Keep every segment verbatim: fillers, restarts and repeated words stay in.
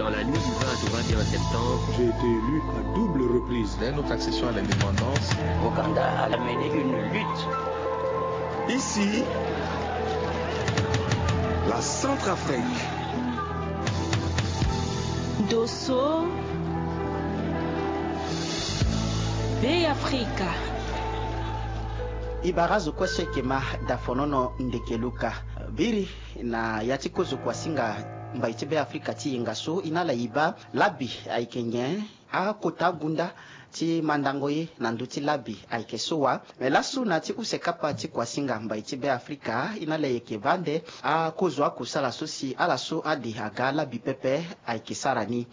Dans la nuit du vingt au vingt et un septembre, j'ai été élu à double reprise. Dès notre accession à l'indépendance, Ouganda a mené une lutte. Ici, la Centrafrique. Dosso, Bêafrika. E bara azo kue so ayeke ma dafonono ndeke luka. Biri na ya ti kozo kuasinga mbai ti Bêafrika ti yenga so, e na ala e baa labi ayeke nyen? Akota agunda ti mandango ye na ndö ti labi ayeke so wa? Me laso na ya ti use kapa ti kuasinga mbai ti Bêafrika, e na ala e yeke baa nde akozo akusala so si ala so ade aga labi pepe ayeke sara ni.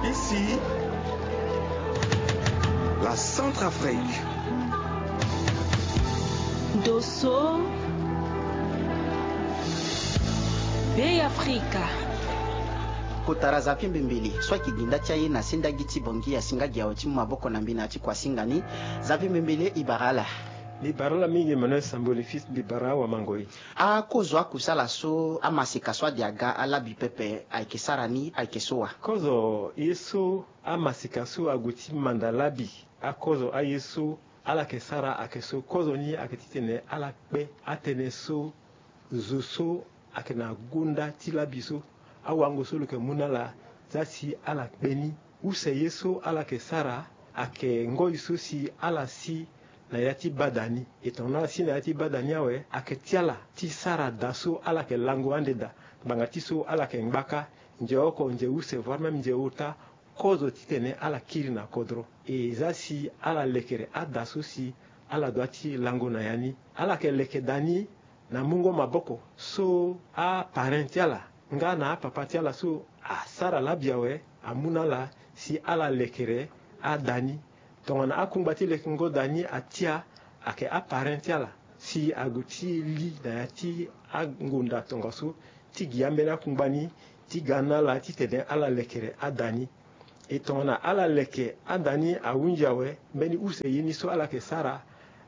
Ici, la Centrafrique. Dosso, Bêafrika. Kotara Xavier Mbembele so ayeke gi nda ti aye na sendagi ti Bangui asinga gi awe ti mu maboko na mbi na ya ti kuasinga ni. Xavier Mbembele, e bara ala. Mbi bara ala mingi Emmanuel Samboli fils, mbi bara awamangoi. Akozo akusala so amaseka so ade aga alabi pepe ayeke sara ni ayeke so wa? Kozo ye so amaseka so ague ti manda labi, akozo aye so ala yeke sara ayeke so. Kozo ni ayeke titene ala kpe atënë so zo so ayeke na gonda ti labi so, awango so lo yeke mu na ala, za si ala kpe ni. Use ye so ala yeke sara ayeke ngoi so si ala si na ya ti bada ni. E tongana ala si na ya ti bada ni awe, ayeke ti ala ti sara da so ala yeke lango ande daa. Ngbanga ti so ala yeke ngbaka, nze oko, nze use, voire même nze ota, kozo titene ala kiri na kodro. E za si ala lekere ada so si ala doit ti lango na ya ni. Ala yeke leke da ni na mungo maboko so aparrain ti ala nga na apapa ti ala so asara labi awe amu na ala si ala lekere ada ni. Tongana akungba ti lekengo da ni atia, ayeke aparrain ti ala si ague ti li na ya ti angonda tongaso ti gi ambeni akungba ni ti ga na ala titene ala lekere ada ni. E tongana ala leke ada ni ahunzi awe, mbeni use ye ni so ala yeke sara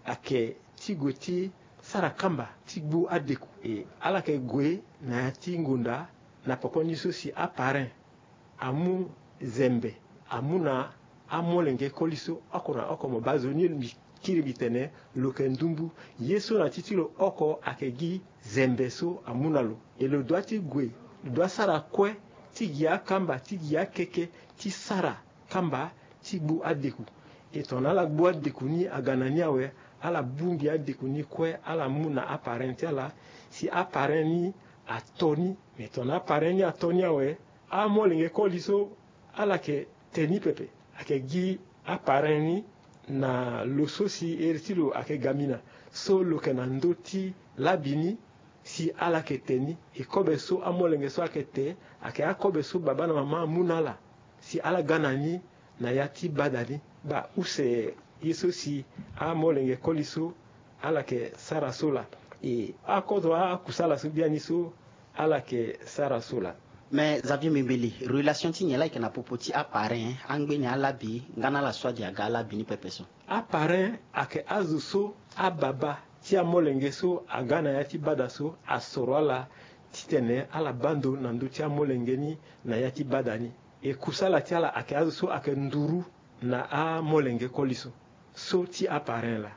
ayeke ti gue ti sara kamba ti gbu adeku. E ala yeke gue na ya ti ngonda na poko ni so si aparrain amu zembe amu na amolenge koli so oko na oko. Mo baa zo ni mbi kiri mbi tene lo yeke ndumbu. Ye so na ti ti lo oko ayeke gi zembe so amu na lo. E lo doit ti gue, lo doit sara kue ti gi akamba, ti gi akeke, ti sara kamba ti gbu adeku. E tongana ala gbu adeku ni aga na ni awe, ala bongbi adeku ni kue, ala mu na aparrain ti ala si aparrain ni ato ni. Me tongana aparrain ni ato ni awe, amolenge koli so ala yeke te ni pepe. Ayeke gi aparrain ni na lo so si iri ti lo ayeke gamina, so lo yeke na ndö ti labi ni, si ala yeke te ni. E kobe so amolenge so ayeke te ayeke akobe so baba na mama amu na ala si ala ga na ni na ya ti bada ni. Baa use ye so si amolenge koli so ala yeke sara so laa. E akodro akusala so biani so ala yeke sara so laa. Me Xavier Mbembele, relation ti nyen laa ayeke na popo ti aparrain, angbeni alabi nga na ala so ade aga alabi ni pepe so? Aparrain ayeke azo so ababa ti amolenge so aga na ya ti bada so asoro ala titene ala baa ndo na ndö ti amolenge ni na ya ti bada ni. E kusala ti ala ayeke azo so ayeke nduru na amolenge koli so, so ti aparrain laa.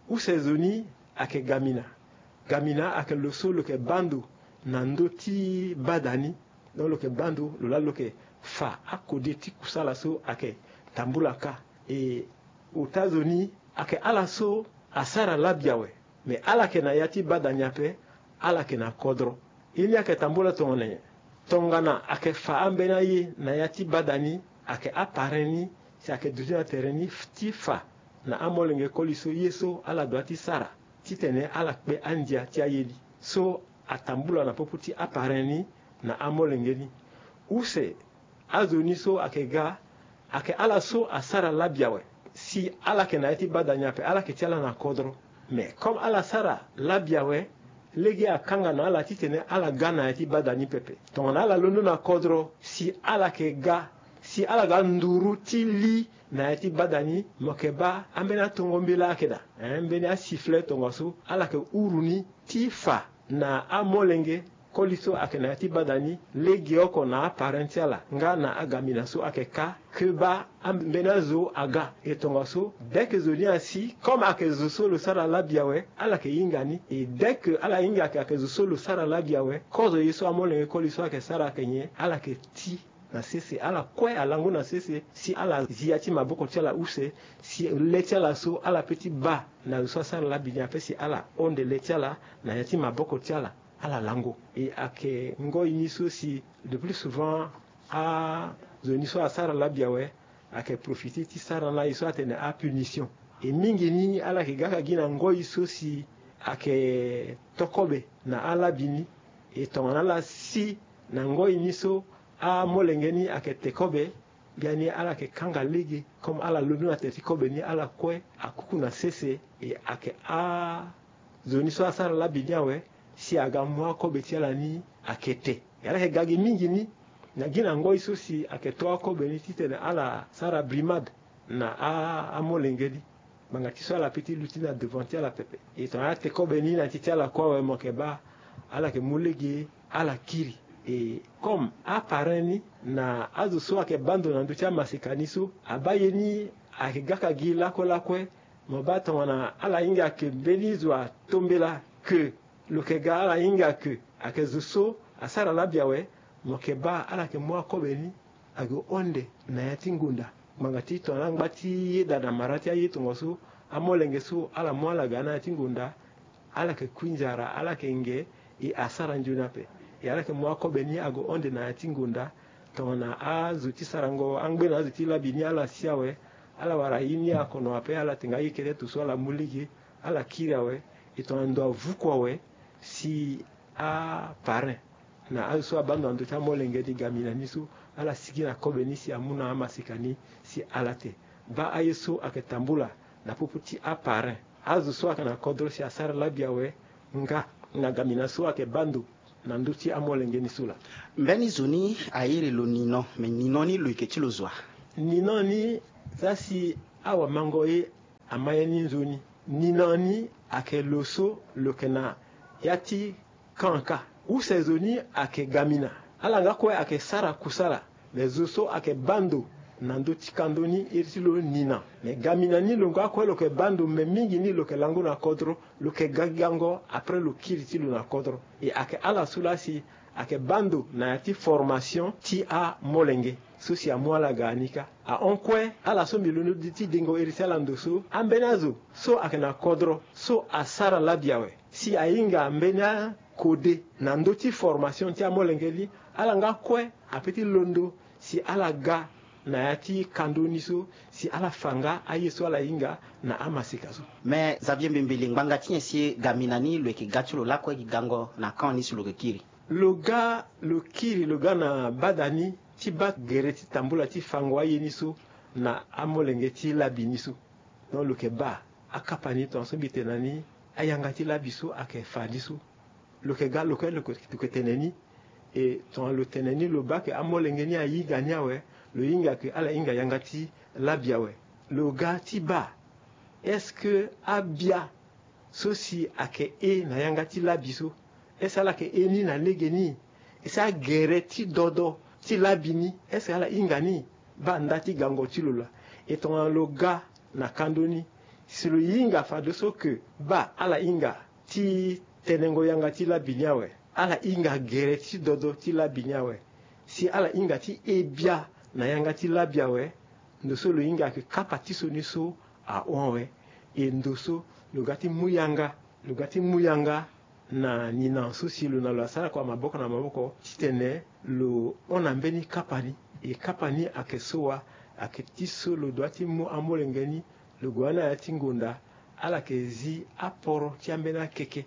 Use zo ni ayeke gamina. Gamina ayeke lo so lo yeke baa ndo na ndö ti bada ni. Donc lo yeke baa ndo, lo laa lo yeke fa akode ti kusala so ayeke tambula kâ. E ota zo ni ayeke ala so asara labi awe. Me ala yeke na ya ti bada ni ape, ala yeke na kodro. Ye ni ayeke tambula tongana nyen? Tongana ayeke fa ambeni aye na ya ti bada ni, ayeke aparrain ni si ayeke duti na tere ni ti fa na amolenge koli so ye so ala doit ti sara titene ala kpe andia ti aye ni. So atambula na popo ti aparrain ni na amolenge ni. Use azo ni so ayeke ga, ayeke ala so asara labi awe. Si ala yeke na ya ti bada ni ape, ala yeke ti ala na kodro. Me comme ala sara labi awe, lege akanga na ala titene ala ga na ya ti bada ni pepe. Tongana ala londo na kodro, si ala yeke ga, si ala ga nduru ti li Na ya ti bada ni mo yeke baa ambeni atongo mbela ayeke daa, eh, mbeni asifflet tongaso ala yeke huru ni ti fa na amolenge koli so ayeke na ya ti bada ni, legeoko na aparent ti ala nga na agamina so ayeke ka ke baa ambeni azo aga. E tongaso dès que zo ni asi, comme ayeke zo so lo sara labi awe, ala yeke hinga ni. E dès que ala hinga ayeke, ayeke zo so lo sara labi awe, kozo ye so amolenge koli so ayeke sara ayeke nyen, ala yeke ti na sese, ala kue alango na sese si ala zi ya ti maboko ti ala use, si le ti ala so ala pe ti baa na zo so asara labi ni ape si ala honde le ti ala na ya ti maboko ti ala, ala lango. E ayeke ngoi ni so si le plus souvent azo ni so asara labi awe ayeke profiter ti sara na ye so atene apunition. E mingi ni ala yeke gaka gi na ngoi so si ayeke to kobe na alabi ni. E tongana ala si na ngoi ni so amolenge ni ayeke te kobe, biani ala yeke kanga lege, comme ala londo na tere ti kobe ni, ala kue akuku na sese. E ayeke azo ni so asara labi ni awe si aga mu akobe ti ala ni ayeke te. E ala yeke ga gi mingi ni na gi na ngoi so si ayeke to akobe ni titene ala sara brimade na a- amolenge ni. Ngbanga ti so ala pe ti luti na devant ti ala pepe. E tongana ate kobe ni na ti ti ala kue awe, mo yeke baa ala yeke mu lege ala kiri. E comme aparrain ni na azo so ayeke baa ndo na ndö ti amaseka ni so abaa ye ni ayeke gaka gi lakue lakue, mo baa tongana ala hinga ayeke mbeni zo atombela ke lo yeke ga ala hinga ke ayeke zo so asara labi awe, mo yeke baa ala yeke mu akobe ni ague honde na ya ti ngonda. Ngbanga ti tongana angba ti yeda na mara ti aye tongaso, amolenge so ala mu ala ga na ya ti ngonda, ala yeke kui nzara, ala yeke nge, e asara nzoni ape. E ala yeke mu akobe ni ague honde na ya ti ngonda. Tongana azo ti sarango angbe na azo ti labi ni ala si awe, ala wara ye ni akono ape, ala tenga ye kete to so ala mu lege, ala kiri awe. E tongana ndo avuku awe si aparrain na azo so abaa ndo na ndö ti amolenge ni, gamina ni so, ala sigi na kobe ni si amu na amaseka ni si ala te. Baa aye so ayeke tambula na popo ti aparrain, azo so ayeke na kodro si asara labi awe nga na gamina so ayeke baa ndo na ndö ti amolenge ni so laa. Mbeni zo ni a iri lo ninon, me ninon ni lo yeke ti lo zo wa? Ninon ni za si awamango ye ama ye ni nzoni. Ninon ni ayeke lo so lo yeke na ya ti kan ka. Use zo ni ayeke gamina. Ala nga kue ayeke sara kusala. Me zo so ayeke baa ndo na ndö ti kando ni, iri ti lo ninon. Me gamina ni lo nga kue lo yeke baa ndo, me mingi ni lo yeke lango na kodro, lo yeke ga gango, après lo kiri ti lo na kodro. E ayeke ala so laa si ayeke baa ndo na ya ti formation ti amolenge so si amu ala ga ni kâ. Ahon kue ala so mbi londo ti dengo iri ti ala ndo so, ambeni azo so ayeke na kodro so asara labi awe si ahinga mbeni akode na ndö ti formation ti amolenge ni, ala nga kue ape ti londo si ala ga na ya ti kando ni so, si ala fa nga aye so ala hinga na amaseka so. Me Xavier Mbembele, ngbanga ti nyen si gamina ni lo yeke ga ti lo lakue gi gango na kan ni si lo yeke kiri? Lo ga, lo kiri, lo ga na bada ni ti baa gere ti tambula ti fango aye ni so na amolenge ti labi ni so. Donc lo yeke baa akapa ni, tongaso mbi tene na ni, ayanga ti labi so ayeke fa ni so. Lo yeke ga, lo yeke, lo yeke, lo yeke tene ni. E tongana lo tene ni, lo baa ke amolenge ni ahinga ni awe, lo hinga ke ala hinga yanga ti labi awe. Lo ga ti baa est-ce que abia so si ayeke he na yanga ti labi so, est-ce que ala yeke he ni na legeni? Est-ce que agere ti dodo ti labi ni, est-ce que ala hinga ni? Baa nda ti gango ti lo laa. E tongana lo ga na kando ni, si lo hinga fadeso ke baa ala hinga ti tenengo yanga ti labi ni awe, ala hinga gere ti dodo ti labi ni awe, si ala hinga ti he bia na yanga ti labi awe, ndo so lo hinga ayeke kapa ti so ni so ahon awe. E ndo so lo ga ti mu yanga, lo ga ti mu yanga na ninan so si lo na lo asara kua maboko na maboko titene lo hon na mbeni kapa ni. E kapa ni ayeke so wa? Ayeke ti so lo dua ti mu amolenge ni, lo gue na ya ti ngonda, ala yeke zi aporo ti ambeni akeke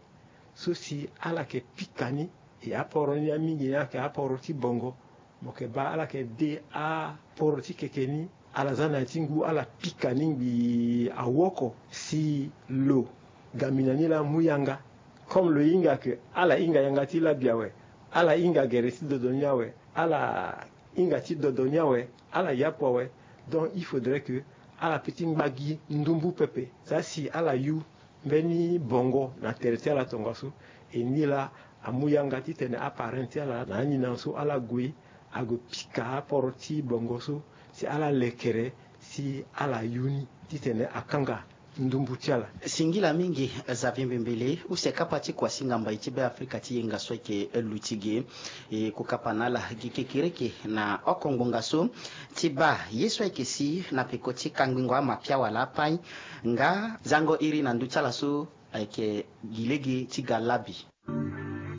so si ala yeke pika ni. E aporo ni amingi ni ayeke aporo ti bongo. Mo yeke baa ala yeke de aporo ti keke ni, ala za na ya ti ngu, ala pika ni ngbii awoko si lo gamina ni laa amu yanga. Comme lo hinga ke ala hinga yanga ti labi awe, ala hinga gere ti dodo ni awe, ala hinga ti dodo ni awe, ala yapu awe. Donc il faudrait que Ala pe ti ngba gi ndumbu pepe, za si ala yu mbeni bongo na tere ti ala tongaso. E ni laa amu yanga titene aparent ti ala na anina so ala gue, ague pika aporo ti bongo so si ala lekere, si ala yu ni titene akanga ndumbu ti ala. Singila mingi Xavier Mbembele, use kapa ti kuasinga mbai ti Beafrika ti yenga so ayeke luti ge. E kokapa na ala gi kekereke na oko ngbonga so ti baa ye so ayeke si na peko ti kangbingo amapiawala apai. Nga zango iri na ndö ti ala so ayeke gi lege ti ga labi.